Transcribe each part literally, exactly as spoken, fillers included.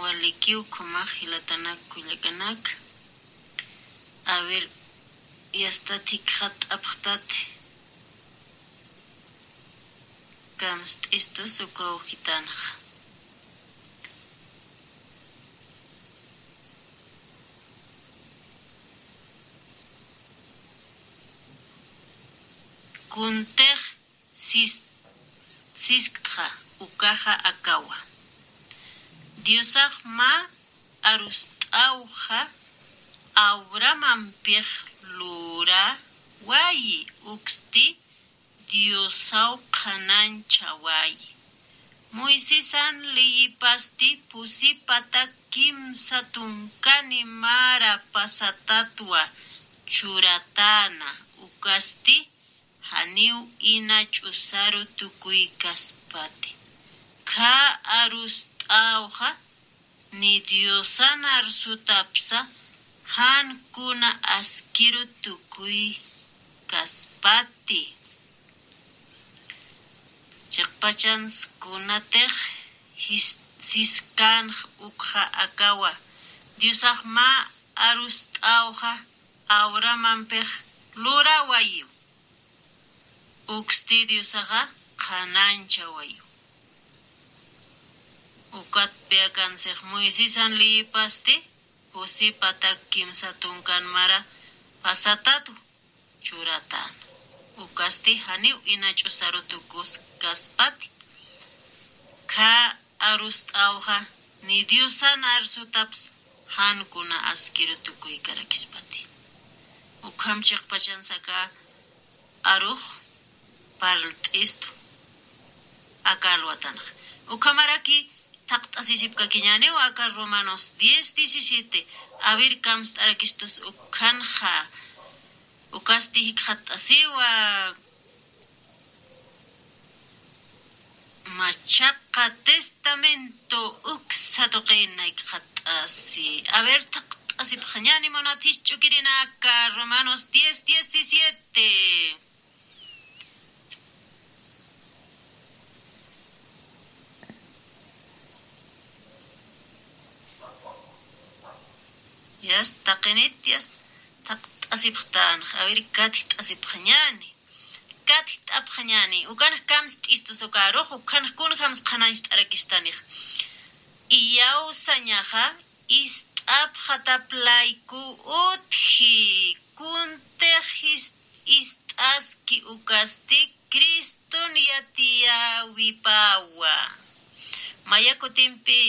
Waliki ukhamax jilatanak kullakanak. A ver, yastat jikxat'apxtati. Kamst'istus uka ujitanxa. Kuntix sis-, sisktxa ukaxa akawa. Diosax mä arust'awxa Abrahamampix lurawayi, uksti Diosaw qhanañchaway. Moisesan leyipasti pusi patak kimsa tunkani mara pasatatwa churatäna, ukasti janiw ina ch'usaru tukuykaspati. Khä arust'awxa ni Diosan arsutapsa jan kuna askiru tukuykaspati. Chiqpachans kunatix jis-, siskanx ukxa akawa. Diosax mä arust'awxa Abrahamampix lurawayiw. Uksti Diosaxa qhanañchawayiw. Ukatpi akansix Moisesan leyipasti pusi patak kimsa tunkan mara pasatatwa churatäna. Ukasti janiw ina ch'usaru tukuskaspati. Khä arust'awxa ni Diosan arsutaps jan kuna askiru tukuykarakïspati. Ukham chiqpachansa aka arux parlt'istu aka alwatanxa. Ukhamaraki thaqt'asisipkakiñäniw aka Romanos diez diecisiete. A ver, kamst'arakistus ukhanxa. Ukasti jikxatasiwa. Machaqa Testamento uksa tuqina jikxatasi. A ver, thaqt'asipxañäni munat jisch'ukirinaka, Romanos diez diecisiete. Yas, taqinit, yas, thaqt'asipxtanx. A ver, katjt'asipxañäni. Katjt'apxañäni. Ukanx kamst'istus uka arux, ukanx kunjams qhanañcht'arakistanix. Iyawsañaxa ist'apxatap layku utji, kuntix is-, ist'aski ukasti Criston yatiyäwipawa. Maya kutimpi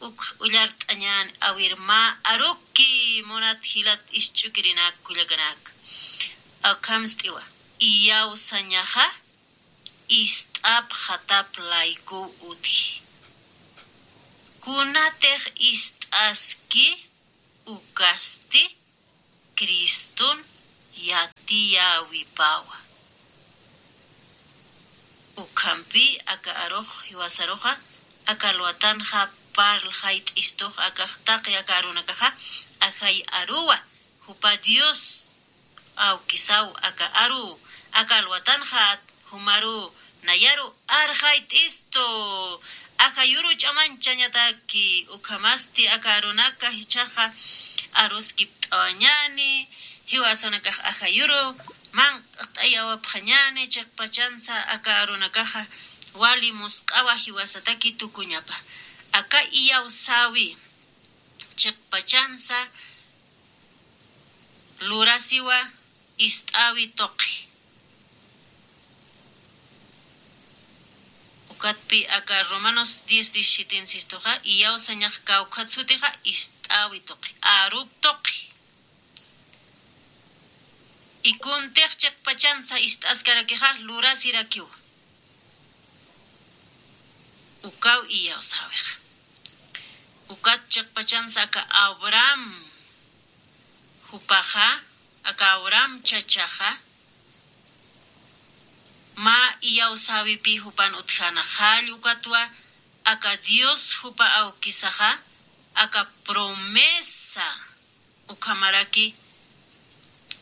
uk ullart'añäni, a ver, mä aruki munat jilat jisch'ukirinak kullakanak. Akamst'iwa, iyawsañaxa ist'apxatap layku utji. Kunatix ist'aski ukasti Criston yatiyäwipawa. Ukhampi aka arux jiwasaruxa, aka alwatanxa parlxayt'istux, akax taqi aka arunakaxa ajay aruwa, jupa Dios awkisaw aka aru, aka alwatanxa jumaru nayaru arxayt'istu, ajayuru ch'amañchañataki. Ukhamasti aka arunaka jichhaxa aruskipt'awañäni, jiwasanakax ajayuru manq't'ayawapxañäni, chiqpachansa aka arunakaxa wali musq'awa jiwasataki tukuñapa. Aka iyawsäwi chiqpachansa lurasiwa ist'äwi tuqi. Ukatpi aka Romanos diez diecisiete insistuxa, iyawsañax kawkhat sutixa ist'äwi tuqi, arup tuqi. Y kuntix chiqpachansa ist'askarakixa lurasirakiwa. Ukaw iyawsäwixa. Ukat chiqpachansa aka Abraham jupaxa, aka Abraham chachaxa, mä iyawsäwipi jupan utjäna jall, ukatwa aka Dios jupa awkisaxa, aka promesa, ukhamaraki,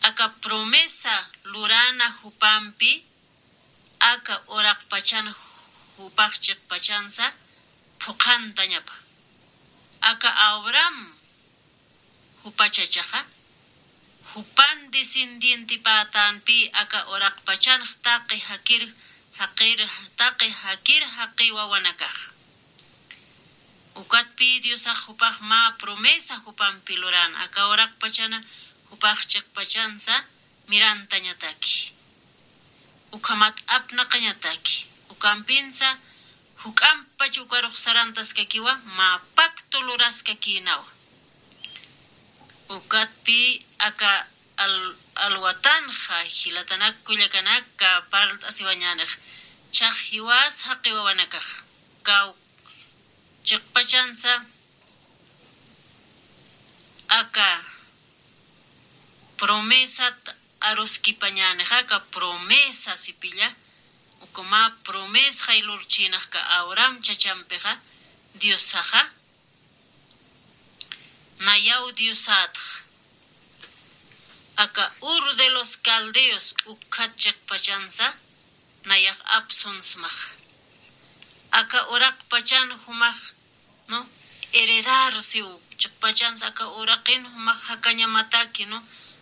aka promesa lurana jupampi, aka uraqpachan jupax chiqpachansa phuqhantañapa. Aka Abraham jupachachaxa, jupan descendientipätanpï aka uraqpachanx taqi jakir, jaqir, taqi jakir jaqi wawanakax. Ukatpï Diosax jupax mä promesa jupampi luran, aka uraqpachana jupax chiqpachansa mirantañataki. Ukhamat apnaqañataki. Ukampinsa juk'ampach ukarux sarantaskakiwa, mä pacto luraskakïnawa. Ukatpï aka al-, alwatanxa, jilatanak kullakanaka, parlt'asiwañänix, chax jiwas jaqi wawanakax, kaw chiqpachansa aka promesat aruskipañänixa, aka promesa sipilla, uka mä promesxay lurchïnax aka Abraham chachampixa, Diosaxa, nayaw Diosatx, aka Ur de los Caldeos ukkhat chiqpachansa, nayax apsunsmax. Aka uraqpachan jumax, ¿no? Heredar siw, chiqpachansa aka uraqin jumax jakañamataki, ¿no?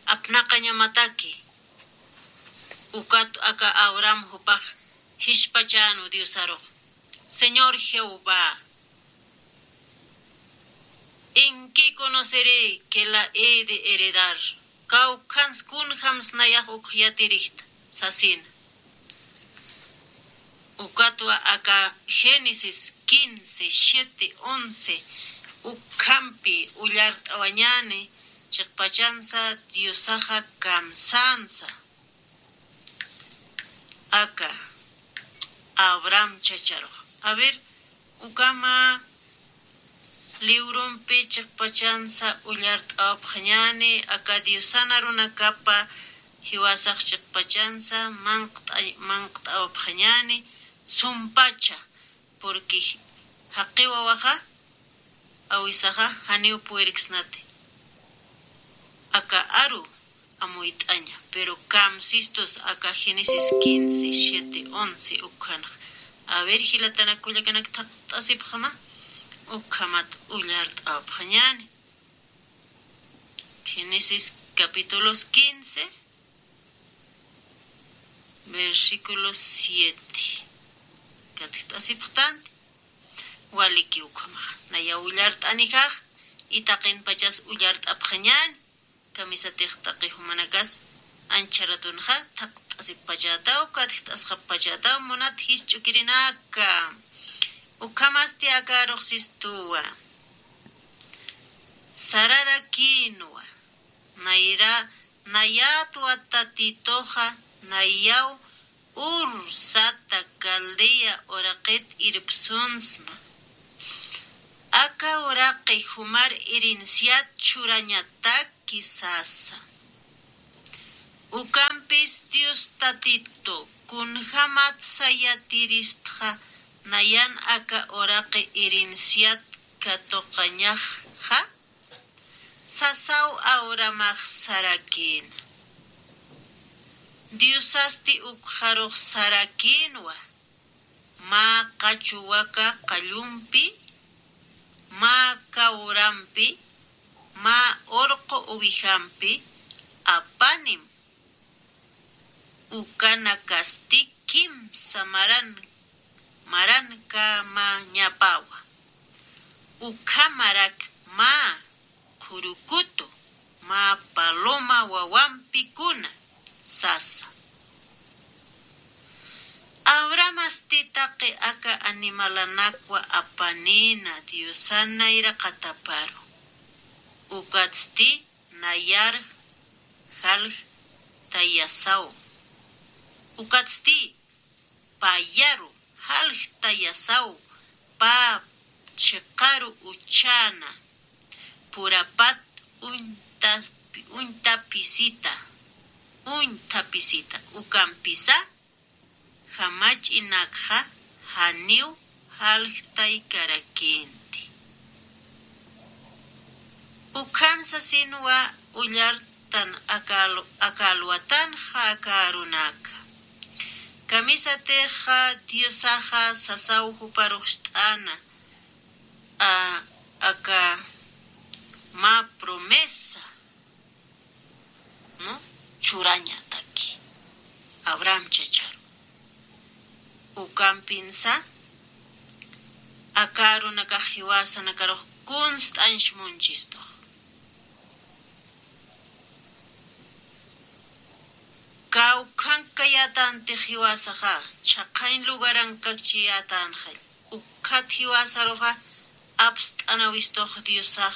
Apnaqañamataki. Ukat aka Abraham jupax jispachänu Diosarux: Señor Jehová, ¿en qué conoceré que la he de heredar? Kawkhans kunjams nayax uk yatirixta, sasina. Ukatwa aka Génesis quince, siete, once, ukhampi ullart'awañäni, chiqpachansa Diosaxa kamsänsa aka Abraham chacharux. A ver, ukhama librumpi chiqpachansa ullart'awapxañäni, aka Diosan arunakapa jiwasax chiqpachansa manqt'a-, manqt'awapxañäni, sumpacha, porque jaqi wawaxa, awisaxa, janiw purirksnati aka aru amuyt'aña, pero kamsistus aka Génesis quince, siete, once ukhanx. A ver, jilatanak kullakanak, thaqt'asipxama, ukhamat ullart'awapxañäni. Génesis capítulos quince, versículo siete. Katjt'asipxtanti, waliki ukhamax. Nayaw ullart'anixax, y taqinpachas ullart'apxañäni. Kamisatix taqi jumanakas ancha ratunxa thaqt'asipxapachätaw, katjt'asxapxapachätaw, munat jisch'ukirinaka. Ukhamasti aka arux sistuwa. Sararakïnwa. Nayra, nayatwa Tatituxa, nayaw Ur sata Caldea uraqit irpsunsma. Aka uraqi jumar herenciat churañataki sasa. Ukampis Dios Tatitu, kunjamatsa yatiristxa nayan aka uraqi herenciat katuqañaxa? Sasaw Abrahamax sarakïna. Diosasti ukxarux sarakïnwa, mä qachuwaka qallumpi, mä kawrampi, mä urqu uwijampi, apanim. Ukanakasti kimsa maran, maran kamañapawa. Ukhamarak mä qhurukutu, mä paloma wawampi kuna, sasa. Abrahamasti taqi aka animalanakwa apanïna Diosan nayraqataparu. Ukatsti nayar jaljtayasaw. Ukatsti payaru jaljtayasaw, pä chiqaru uchana, purapat uñta-, uñtapisita, uñthapisita, ukampisa jamach'inakxa janiw jaljtaykarakïnti. Ukham sasinwa ullartan akal-, akalwatanxa aka arunaka. Kamisatixa Diosaxa sasaw juparuxst'ana, a, aka promesa, ¿no? Churañataki Abraham chacharu. Ukampinsa aka arunakax jiwasanakarux kunst'añch munchistux. Kawkhankayätantix jiwasaxa, chhaqhañ lugarankakchiyätänxa. Ukhat jiwasaruxa apst'anawistux Diosax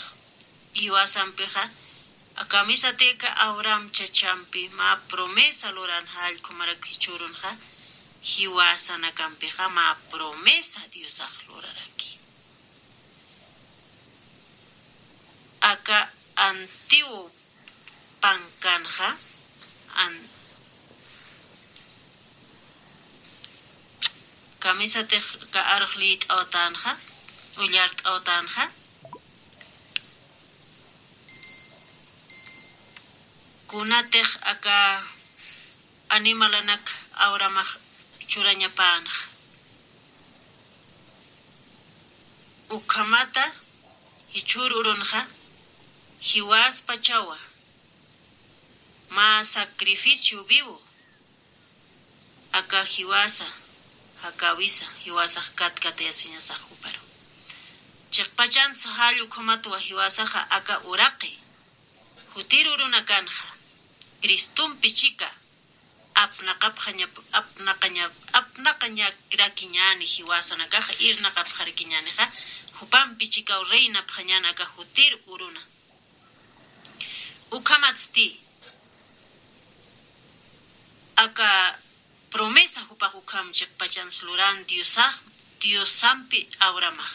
jiwasampixa, kamisatïka Abraham chachampi mä promesa luran jallkhumarak jichhürunxa, jiwasanakampixa mä promesa Diosax luraraki. Aka antiguo pankanxa, an-, kamisatix ka arux liyt'awtänxa, ullart'awtänxa, kunatix aka animalanak Abrahamax churañapänxa. Ukhamata jichhür urunxa, jiwaspachawa mä sacrificio vivo, aka jiwasa, jakawisa, jiwasax katkatayasiñasax juparu. Chiqpachansa jall ukhamatwa jiwasaxa aka uraqi, jutir urunakanxa, Cristompi chika, apnaqapxañap-, apnaqañap-, apnaqañarakiñäni jiwasanakaxa, irnaqapxarakiñänixa, jupampi chikaw reinapxañän aka jutir uruna. Ukhamatsti, aka promesa jupax ukham chiqpachans luran Diosax, Diosampi Abrahamax.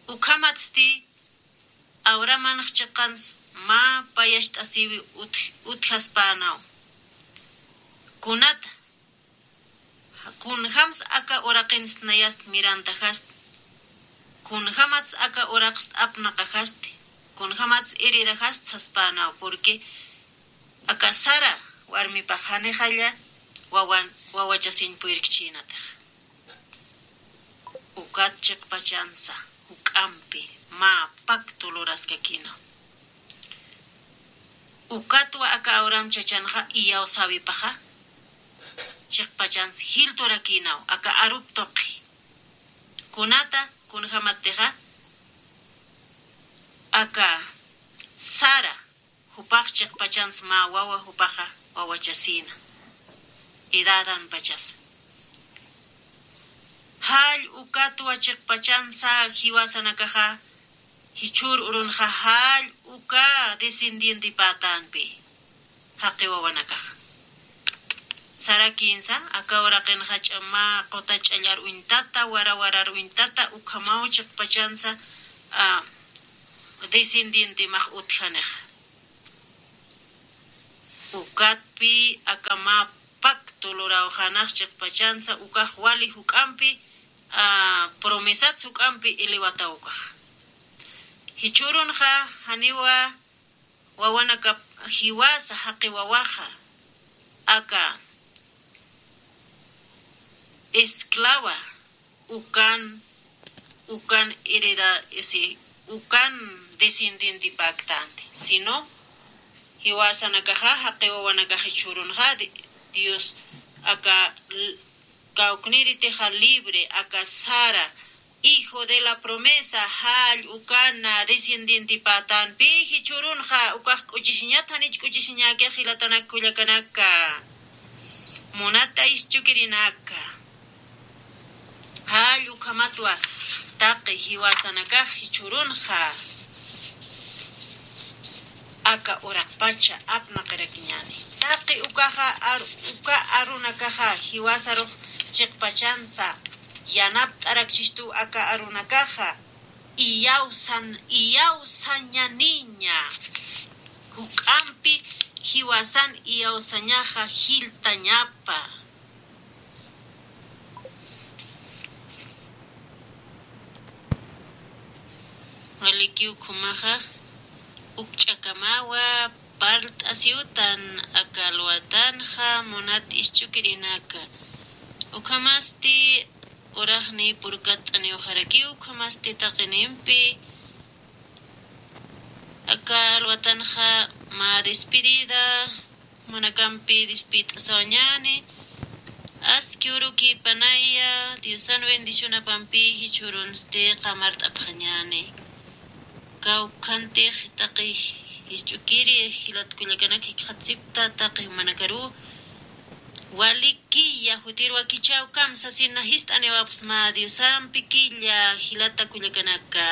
Ukhamatsti, Abrahamanx chiqans mä payacht'asiwi utj-, utjaspänaw. Kunata, kunjams aka uraqinst nayast mirantajast, kunjamats aka uraqst apnaqajasti, kunjamats heredajast saspänaw, porque aka Sara warmipax janixalla wawan, wawachasiñ puyrkchïnatix. Ukat chiqpachansa juk'ampi mä pacto luraskakïnaw. Ukatwa aka Abraham chachanxa iyawsäwipaxa, chiqpachansa jilturakïnaw aka arup tuqi. Kunata, kunjamatixa, aka Sara, jupax chiqpachans mä wawa jupaxa wawachasïna, edadanpachasa. Jall ukatwa chiqpachansa jiwasanakaxa, jichhür urunxa jall uka descendientipätänpi, jaqi wawanakaxa. Sarakïnsa, aka uraqinxa ch'ama quta ch'allar uñtata, wara warar uñtata, ukhamaw chiqpachansa, a, descendientemax utjanixa. Ukatpi aka mä pacto lurawxanax chiqpachansa, ukax wali juk'ampi, a, promesats juk'ampi elewataw ukax. Jichhürunxa janiwa wawanakap jiwasa jaqi wawaxa, aka esclava, ukan, ukan hereda, ese, ukan descendientepaktanti, sino jiwasanakaxa, jaqi wawanakax jichhürunxa, Di-, Dios aka l-, kawknïritixa libre, aka Sara, hijo de la promesa, jall ukana descendientepatänpi jichhürunxa, ukax k'uchisiñat, janich k'uchisiñäkix jilatanak kullakanaka, munata ischukirinaka. Jall ukhamatwa taqi jiwasanakax jichhürunxa, aka uraqpacha apnaqirakiñäni. Taqi ukaxa ar-, uka arunakaxa jiwasarux chiqpachansa yanapt'arakchistu aka arunakaxa, iyawsan-, iyawsañaniña. Juk'ampi jiwasan iyawsañaxa jiltañapa. Walikiw ukhumaxa, ukch'akamawa parlt'asiwtan aka alwatanxa, munat ischukirinaka. Ukhamasti uraqni purkatt'aniwxarakiw, ukhamasti taqinimpi Aka alwatanxa mä despedida, manakampi despit'asawañani. Aski uruki panaya, Diosan bendicionapampi jichhurunsti qamart'apxañani. Kawkhantix taqi jich'ukiri jilat kullakanaka jikxatsipta taqi manakaru. Wali killa jutir wakichäw kamsasina jist'aniwapxsma Diosampi killa jilata kullakanaka.